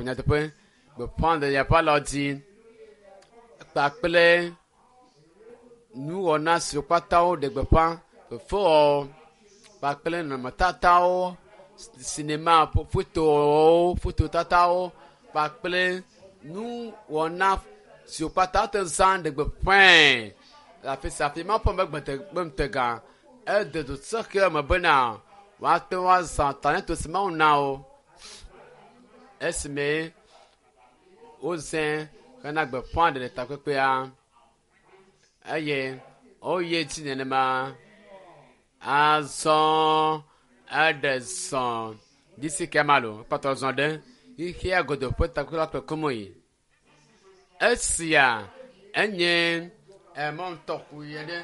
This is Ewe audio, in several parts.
Nyateƒe, gbeƒãɖeɖe ƒe alɔdzi kpakple nuwɔna siwo katã woɖe gbeƒã, fefewɔwɔ kpakple nɔnɔmetatawo, sinima fotowo, fototatawo kpakple nuwɔna siwo katã wote ŋu zã ɖe gbeƒãe le afi sia afi. Mawu ƒe ŋutega ede du sɔhɛ me bena woate ŋu azã talento si Mawu na wo esime wozãe hena gbeƒãɖeɖe takpekpea eye woyi edzi nenema. Azɔ eɖe zɔ disi ke ma lo kpɔtɔ zɔ ɖe xexea godoo ƒe takpekpe la kple komoe. Esia enye emɔ ŋutɔxoe aɖe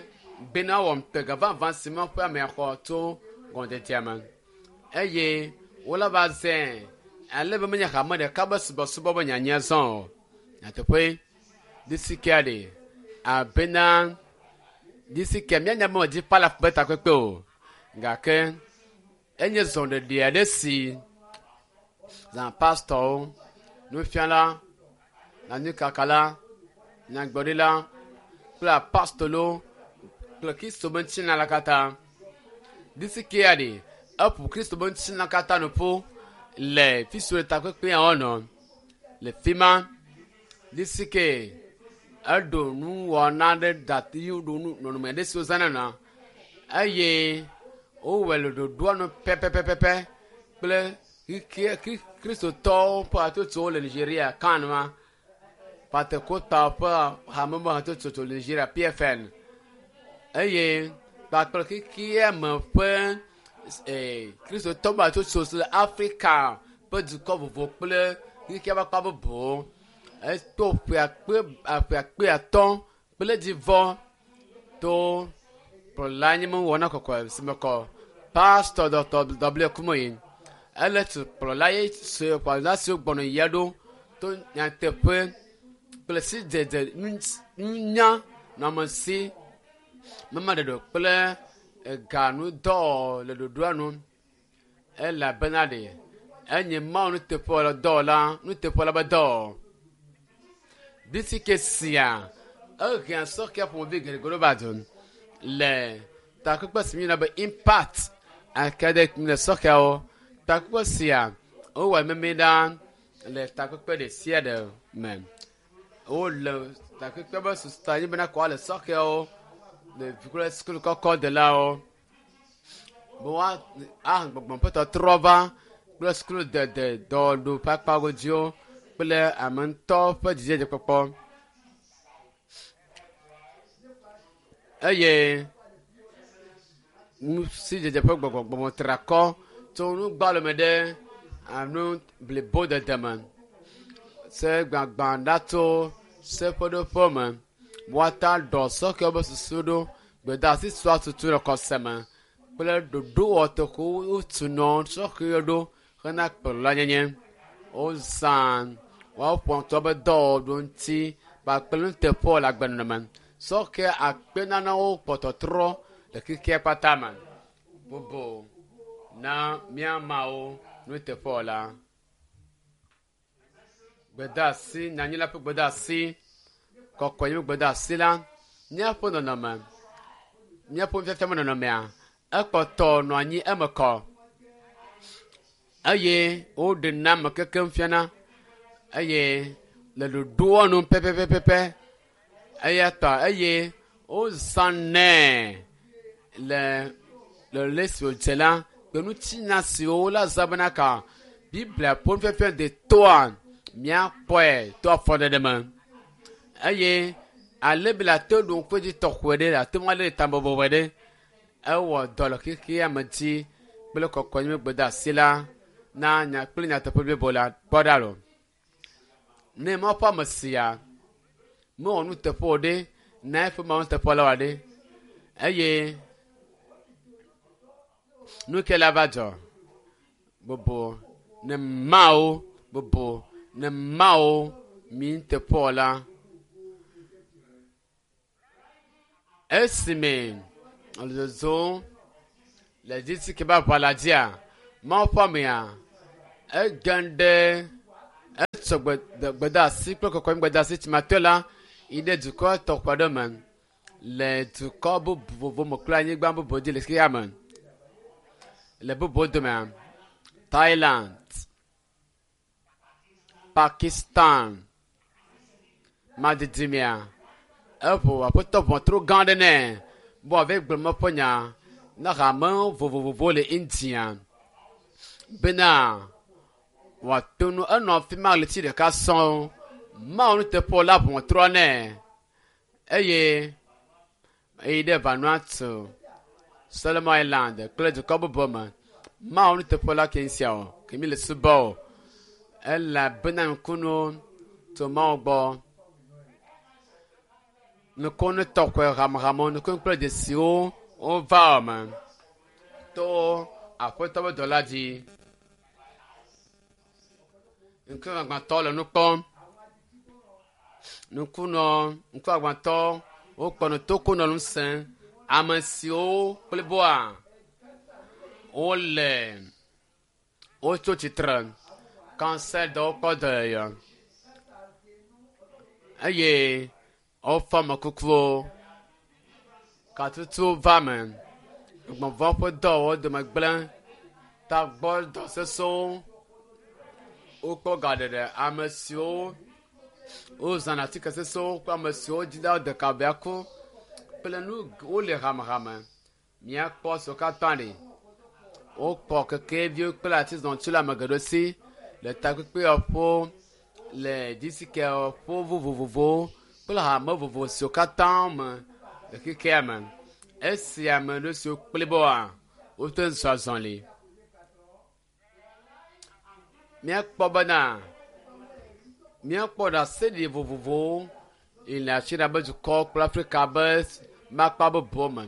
bena wɔ ŋutega vavã si Mawu ƒe amea xɔ tso gɔmedzedzea me eye wole va zãe ale be menye hame ɖeka be subɔsubɔ be nyanya zɔ o. Nyateƒe disi kea ɖe abena disi ke míanya be medzi palaf be takpekpe o gake enye zɔɖeɖe aɖe si zã pastɔwo, nufiala, nyanyuikakala, nyagblɔɖila kple apostolowo kple Kristo be ŋutilã la katã. Disi kea ɖe eƒo Kristo be ŋutilã katã nu ƒu le fi si wole takpekpea wɔnɔ. Le fi ma, disi ke eɖo nuwɔna aɖe da yi ɖo nu nɔnɔme aɖe si wozãna nɔa eye wowɔe le ɖoɖoa nu pɛpɛpɛpɛ kple xixia kristotɔwo ƒe hatsotsowo le Nigeria kan ma Pentekostawo ƒe hame me hatsotso le Nigeria PFN eye kpakple xexea me ƒe ee kristotɔwo ƒe hatsotso si le Afrika ƒe dukɔ vovovo kple xexea ƒe akpa bubuwo. Eto ƒe akpe ƒe akpe atɔ̃ kple dzivɔ to kplɔla nye mewɔna kɔkɔe si me kɔ Pastor Dr. W. Kumoyi. Ele tu kplɔla ye si kplɔla siwo gbɔna yia ɖo to nyateƒe kple sidzedze nunya nɔamesi memaɖeɖe kple eganudɔ le ɖoɖoa nu elabena ɖe enye Mawu nuteƒewɔla dɔwɔla nuteƒewɔla be dɔ. Bisike sia ehea sɔhɛ ƒomevi geɖe ɖo va du le takpekpe si míeyɔna be Impact Academy le sɔhɛwo. Takpekpe sia wowɔ mimi ɖa le takpekpe ɖe sia ɖe me. Wole takpekpe be susu ta nye bena kɔ le sɔhɛwo ɖevi kple sukulu kɔkɔ delawo be woa ahe gbɔgbɔ ƒe tɔtrɔ va kple sukuludede dɔwɔɖu ƒe akpagodziwo kple ame ŋutɔ ƒe dzidzedzekpɔkpɔ. Eye nusidzedze ƒe gbɔgbɔ gbɔgbɔtrakɔ tso nugbalo me ɖe anu blibodede me. Se gbagba ɖa tso seƒeɖoƒe me. Woata ɖɔ sɔhɛwo ƒe susu ɖo gbedeasi sua tutu le xɔse me kple ɖoɖowɔtɔxewo wotunɔ sɔhɛwo ɖo hena kplɔlanyenye. Wozã woaƒo ŋutɔ be dɔwɔɖo ŋuti kpakple nuteƒewɔwɔ le agbenɔnɔ me. Sɔhɛ akpe nanewo kpɔ tɔtrɔ le xexea kpata me. Bubu na mía Mawu nuteƒewɔla. Gbedeasi, nyanyui la ƒe gbedeasi, kɔkɔenye ƒe gbedeasi la, míaƒe nɔnɔme, míaƒe nufiafia me nɔnɔmea, ekpɔtɔ nɔ anyi eme kɔ eye woɖena ame kekem fiana eye le ɖoɖoa nu pɛpɛpɛpɛ eya ta eye wozãnɛ le le le si wòdze la kple ŋutinya siwo wola zã bena ka Biblia ƒe nufiafia detoa míakpɔe to afɔɖeɖe me eye ale be le ate ɖo ŋku edzi tɔxɔe ɖe le ate ŋu alé ta bɔbɔe ɖe ewɔ dɔ le xexea me dzi kple kɔkɔenye gbedeasi la na nya kple nyateƒe blibo la kpɔ ɖa lo. Ne Mawu ƒe ame sia mewɔ nuteƒe o ɖe na eƒe Mawu nuteƒe la wa ɖe eye nu ke la va dzɔ bubu ne Mawu bubu ne Mawu mi nuteƒewɔla. Esime wòle zɔzɔm le dzisi ke be aʋa la dzia, Mawu ƒe amea ege ɖe Etsɔ gbedeasi kple kɔkɔe gbedeasi tsimatɔe la yi ɖe dukɔ tɔxɛ aɖe me le dukɔ bubu vovovo me kple anyigba bubu dzi le xexea me. Le bubuwo domea, Thailand, Pakistan, madidimea, eƒo aƒetɔ ʋɔtru gã aɖe nɛ be wòava gblɔ eƒe nya na hame vovovowo le India bena wòato nu enɔ afi ma ɣleti ɖeka sɔŋ. Mawu nuteƒewɔla ʋɔtrua nɛ eye eyi ɖe Vanuatu, Solomon Island kple dukɔ bubu me. Mawu nuteƒewɔla ke sia o, ke mi le subɔ o. Elabena ŋkunuwo tso Mawu gbɔ. Nukunu tɔxɛ hamehame, nukunu kple dzesiwo wova eme to aƒetɔ ƒe dɔla dzi. Ŋkuagbãtɔ le nu kpɔm. Ŋkunɔ, ŋkuagbãtɔ wokpɔ nu tokunɔ nu sem. Ame siwo kpliboa wole wotso tsitre kansɛdɔwo kpɔ dɔyɔyɔ eye wofɔ ame kukuwo. Katutuwo va eme. Gbɔgbɔ ƒe dɔwɔwɔ dome gblẽ. Tagbɔ dɔ sesẽwo wokpɔ gaɖeɖe. Ame siwo wozãna atike sesẽwo kple ame siwo dzi be woade ka bea ku kple nu wole hamehame. Míakpɔ siwo katã li. Wokɔ kekeviwo kple atizɔtiwo le ame geɖewo si le takpekpewɔƒewo le disikewɔƒewo vovovowo kple hame vovovo siwo katã me le xexea me. Esi ame ɖe siwo kpliboa wote ŋu zɔ azɔli. Míakpɔ bena míakpɔ ɖaseɖiɖi vovovowo yi le Asia be dukɔ kple Afrika be makpa bubuwo me.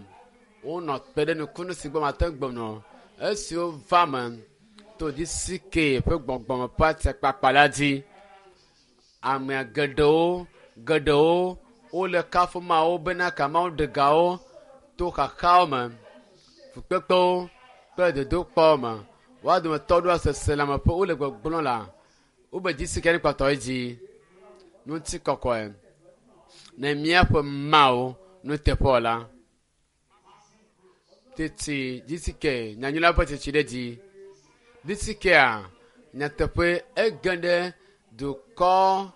Wonɔ te ɖe nukunu si gbɔ mate ŋu gblɔ o. Esiwo va eme to DCK ƒe gbɔgbɔme ƒe atikpakpa la dzi. Amea geɖewo geɖewo wole kafum Mawu bena ka Mawu ɖe gawo to xaxawo me, fukpekpewo kple dodokpɔwo me. Woa dometɔ ɖoa seselãme ƒe wole gbɔgblɔm la, wobe DCK ne kpɔtɔ edzi. Ŋutikɔkɔe ne míaƒe Mawu nuteƒewɔla. Tete DCK nyanyui la ƒe tsitsi ɖe dzi. DCKa nyateƒe ege ɖe dukɔ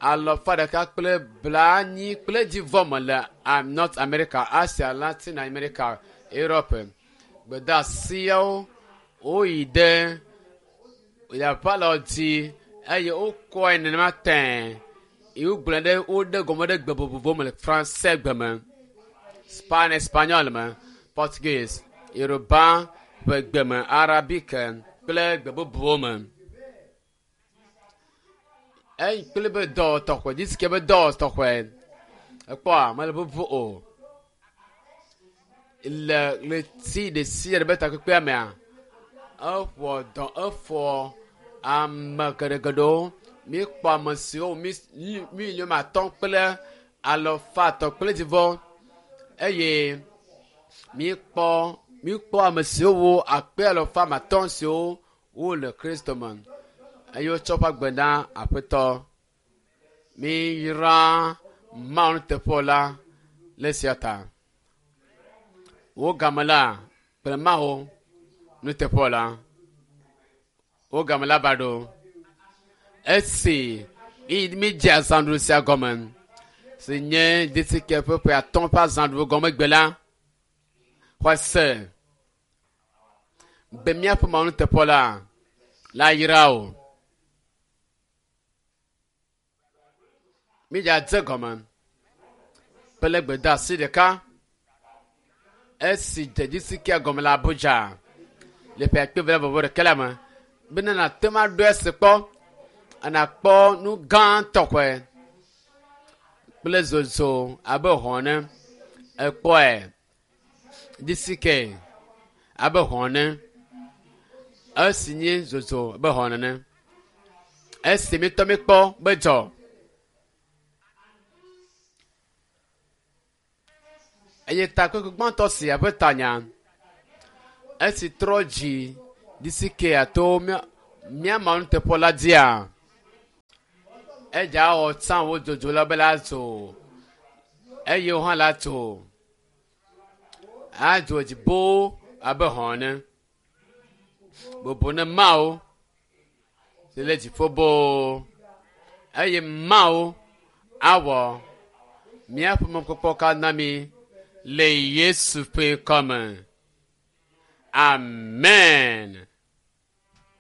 alɔfa ɖeka kple blanyi kple dzivɔ me le North America, Asia, Latin America, Europe. Gbedeasiawo woyi ɖe yaʋalɔ dzi eye wokɔe nenema tẽe. Ye wogblɔe ɖe woɖe gɔme ɖe gbe vovovowo me le Franse gbe me, Spanish, Espagnol me, Portuguese, Yoruba ƒe gbe me, Arabic kple gbe bubuwo me. Eyi kple be dɔwɔtɔxɔe, disike be dɔwɔtɔxɔe. Ekpɔa mele bubu o. Le ɣleti ɖe sia ɖe be takpekpea mea, eƒoa dɔ efɔ ame geɖegeɖewo. Míekpɔ ame siwo miliɔn atɔ̃ kple alafa etɔ̃ kple dzivɔ eye míekpɔ míekpɔ ame siwo wu akpe alafa ame atɔ̃ siwo wole Kristo me eye wotsɔ woƒe agbe na Aƒetɔ. Miyra Mawu nuteƒewɔla le esia ta. Wò game la kple Mawu nuteƒewɔla. Wò game la va ɖo. Esi mídze azãɖuɖu sia gɔme si nye DCK ƒe ƒe atɔ̃ ƒe azãɖuɖu gɔme gbe la, xɔe se be míaƒe Mawu nuteƒewɔla la yra wò. Mídze gɔme kple gbedeasi ɖeka esi dze DCK gɔme le Abuja le ƒe akpe eve vɔvɔ ɖeka la me bena nàte ŋu aɖo esi kpɔ nàkpɔ nu gã tɔxɛ kple zozo abe hɔ̃ ene. Èkpɔe DCK abe hɔ̃ ene esi nye zozo abe hɔ̃ nene. Esi míetɔ míekpɔ be dzɔ. Eye takpekpe gbãtɔ sia ƒe tanya esi trɔ dzi DCK to mía Mawu nuteƒewɔla dzia. Edza wɔ tsã wo dzodzo la be la dzo eye wo hã la dzo adzo dziƒo abe hɔn ene. Bubu ne Mawu si le dziƒo boo eye Mawu awɔ míaƒe mɔkpɔkpɔ katã mi le Yesu ƒe ŋkɔme. Amen.